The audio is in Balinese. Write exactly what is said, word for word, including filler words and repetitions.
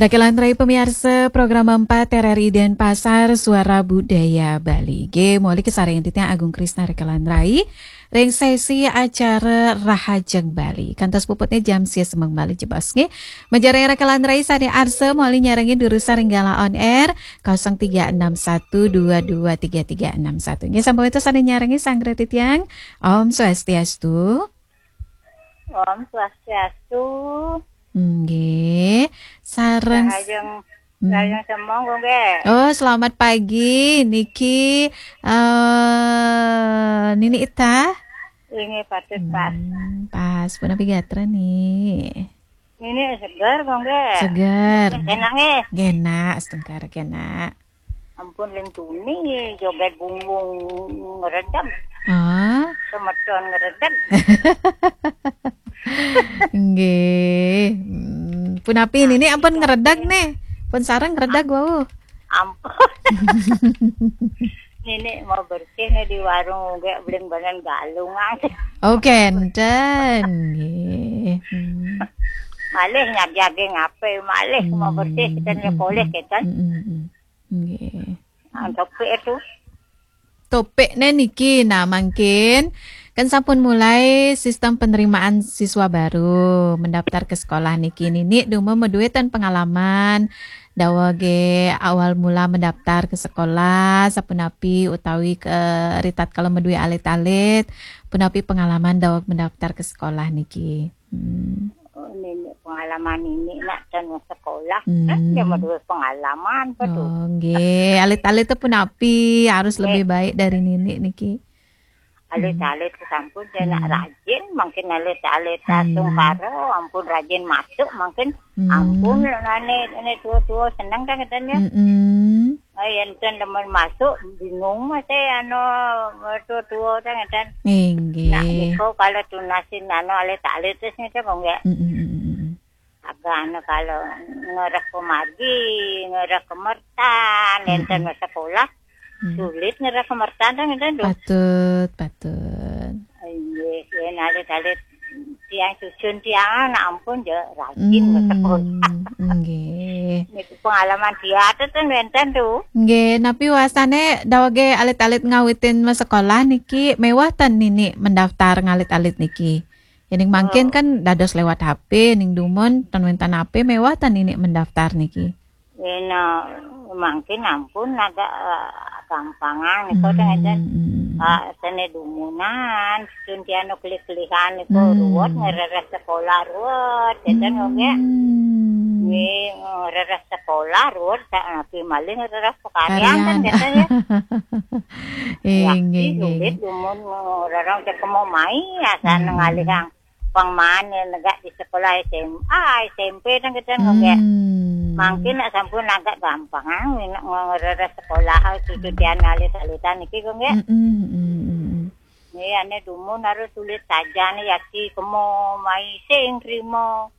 Rekan Rai pemiarsa program empat R R I Denpasar, Suara Budaya Bali. Nggih, moli kasarengin titiang Agung Krisna rekan Rai ring sesi acara Rahajeng Bali. Kantos puputne jam sia semeng malih jebos nggih. Majeng rekan Rai sane arsa moli nyarengin durusang ring galah on air kosong tiga enam satu dua dua tiga tiga enam satu. Nggih, sampun wenten sane nyarengin sareng titiang. Om Swastiastu. Om Swastiastu. Nggih, sareng Rahajeng, Hmm. Rahajeng semeng, nggih. Oh, selamat pagi. Niki eh Nini Ita. Inggih, patut pas. Hmm, pas. Punapi gatra, Ni? Nini seger, nggih. Seger. Enak, nggih. Nggih, enak, setengkar enak. Ampun, ling tuni joget bungbung ngredeg. Ah. Semeton ngredeg. Nggih. Hmm, punapi Nini ampun ngredeg nih. Pun sareng ngredeg wau. Ampun. Nini mau bersih nih di warung, nggih, beli banan galung. Oh, kenten. Nggih. Hmm. Malih nyajage ngape, malih mau bersih, kita nyekoleh, kita. Hmm, hmm, hmm. Nggih. Ah, topik itu. Topikne niki, nah, mangkin kan sampun mulai sistem penerimaan siswa baru mendaftar ke sekolah niki. Nini dumun madue ten pengalaman dawege awal mula mendaftar ke sekolah, sapunapi utawi ke ritatkala madue alit-alit, punapi pengalaman daweg mendaftar ke sekolah niki. Hmm. Oh, nini pengalaman nini nak ten sekolah. Hmm. Kan dia madue pengalaman, betul. Oh, nggih. Alit-alit punapi harus Nggih. lebih baik dari nini niki. Alit-alit sampun dia nak Hmm. rajin, mangkin alit-alit Hmm. tungkara, ampun rajin masuk, mangkin Hmm. ampun nane, nane tua-tua seneng kan katanya. Hmm. Ay, enten demen masuk, bingung masih anu tua-tua kan katanya. Nggih. Nak niko kalau tunasin anu alit-alit terus niko kok nggak. Hmm, hmm, hmm, hmm. Agak anu kalau ngerek pemadi, ngerek kemertan, Hmm, enten hmm. sekolah, Hmm. sulit ngerek kemertan kan enten tuh. Patut, patut. Iya, ya alit-alit tiang susun tiang, nak ampun ya rajin ke sekolah. Hmm, nggih. Niku pengalaman dia tuh ten wenten tuh. Nggih, napi wasane dawege alit-alit ngawitin ma sekolah niki mewah ten nini mendaftar ngalit-alit niki? Yening mangkin Oh. kan dados lewat H P, ning dumun ten wenten H P mewah ten nini mendaftar niki. Yen mangkin ampun agak eh, gampangan niku Hmm, ten enten. Hmm. Ah, sene dumunan, suntian klik-klikan niku Hmm. ruwet ngereres sekolah ruwet, enten kok nggih. Hmm. Nggih, ngereres sekolah ruwet, sak napi malih ngereres pekaryan kan Karyan. biasanya. Eh, Yakin nggih, nggih, sulit nggih. dumun ngereres cek mau mai, asal Hmm. ngalihang pang mane negak di sekolah S M A, S M P kan kita nggih. Hmm. Mangkin nak sampun agak gampang, ah, nak ngereres sekolah, cucu tian alit-alitan niki kok nggih. Hmm, hmm, hmm, hmm. Nggih, ane dumun harus sulit saja nih, yaki kemo mai sing krimo.